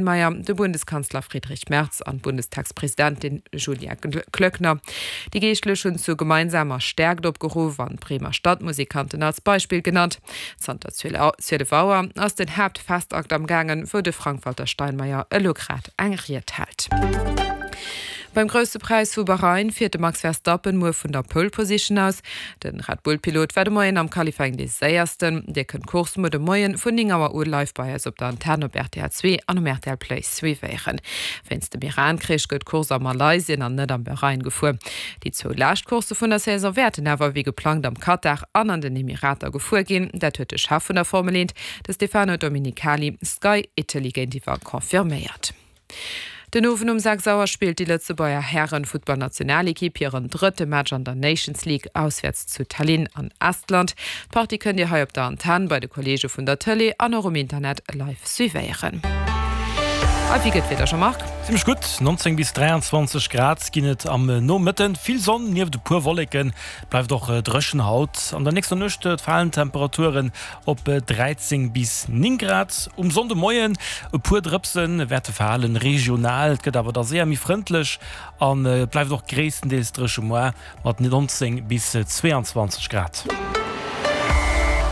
Steinmeier, de Bundeskanzler Friedrich Merz an d'Bundestagspresidentin Julia Klöckner. Déi Geeschtlech hunn zu gemeinsamer Stäerkt opgeruff an d'Bremer Stadtmusikanten als Beispill genannt. Zanter 12 Auer ass den Haaptfestakt am gaangen, wou de Frank-Walter Steinmeier elo grad eng Ried hält. Beim Grousse Präis vu Bahrain fiert de Max Verstappen muer vun der Pole Position aus. De Red Bull Pilot war de Moien am Qualifying dee séiersten. Dir kënnt d'Course muer de Moien vun 9 Auer u live bei eis op der Antenn op rtl 2 an um rtl Play suivéieren. Wéinst dem Iran-Krich gëtt d'Course a Malaysien an net am Bahrain gefuer. Déi zwou lescht Coursse vun der Saison wäerten awer wéi geplangt am Katar an an den Emirater gefuer ginn. Dat huet de Chef vun der Formel 1, de Stefano Domenicali, Sky Italy géintiwwer confirméiert. Den Owend um 6 Auer spillt déi Lëtzebuerger Hären-Futtballnationalekipp hiren drëtte Match an der Nations League auswäerts zu Tallinn an Estland. D'Partie kënnt Dir hei op der Antenn, bei de Kolleege vun der Tëlee an och um Internet live suivéieren. A wéi gëtt d'Wieder, Jean-Marc? Zimmlech gutt, 19 bis 23 Grad ginn et am Nomëtten. Vill Sonn nieft e puer Wolleken, bleift och dréchen haut. An der nächster Nuecht falen d'Temperaturen Op 13 bis 9 Grad um Sonndemoien. E puer Drëpse wäerte falen, regional. Et gëtt awer da séier méi frëndlech an et bleift och gréisstendeels dréche moar mat 19 bis 22 Grad.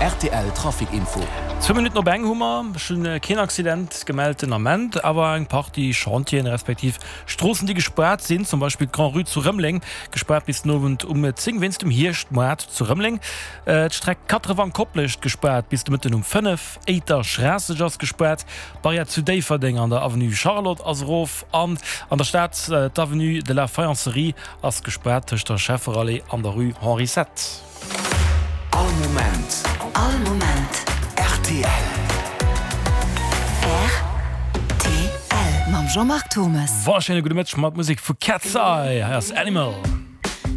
Rtl Trafic Info. Zwou Minutten op eng hu mer. Ech hunn keen Accident gemellt den Ament, awer eng Partie Chantieren, respektiv Stroossen déi gespaart sinn, zum Beispill d'Grand-Rue zu Rëmeleng, gespaart bis den Owend um 10 wéinst dem Hierschtmoart zu Rëmeleng. D'Streck Quatre-Vents-Koplescht gespaart bis de Mëtten um 5, Éiter-Schraasseg ass gespaart, d'Barrière zu Déifferdeng an der Avenue Charlotte ass erof an an der Stad d'Avenue de la Faïencerie ass gespaart tëscht der Schefferallée an der Rue Henri Sept. All Moment. All Moment. Rtl. Rtl. Mam Jean-Marc Thommes. Wonnerschéine gudde Mëtteg mat Musek vu Cat's Eye. Hei ass Animal.